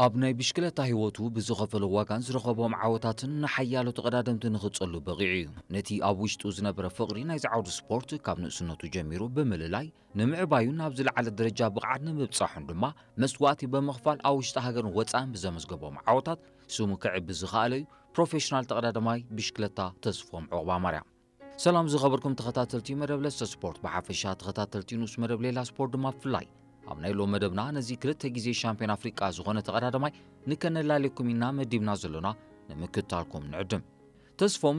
ኣብ ናይ ብሽክለታ ህይወቱ ብዝኸፈሎ ዋጋን ዝረኸቦም ዓወታትን ንሓያሎ ተቐዳደምቲ ንኽጸሉ በቒዑ እዩ። ነቲ ኣብ ውሽጡ ዝነበረ ፍቕሪ ናይዚ ዓውዲ ስፖርት ካብ ንእስነቱ ጀሚሩ ብምልላይ፣ ንምዕባዩን ናብ ዝለዓለ ደረጃ ብቕዓት ንምብጻሑን ድማ መስዋእቲ ብምኽፋል ኣብ ውሽጢ ሃገርን ወጻእን ብዘመዝገቦም ዓወታት ስሙ ክዕቢ ዝኸኣለ እዩ። ፕሮፌሽናል ተቐዳዳማይ ብሽክለታ ተስፎም ዑቕባ ማርያም። ሰላም ዝኸበርኩም ተኸታተልቲ መደብ ለሰ ስፖርት ብሓፈሻ፣ ተኸታተልቲ ንኡስ መደብ ሌላ ስፖርት ድማ ብፍላይ፣ ኣብ ናይ ሎም መደብና ነዚ ክልተ ግዜ ሻምፒዮን ኣፍሪቃ ዝኾነ ተቐዳዳማይ ንከነላልየኩም ኢና መዲብና ዘሎና፣ ንምክትታልኩም ንዕድም። ተስፎም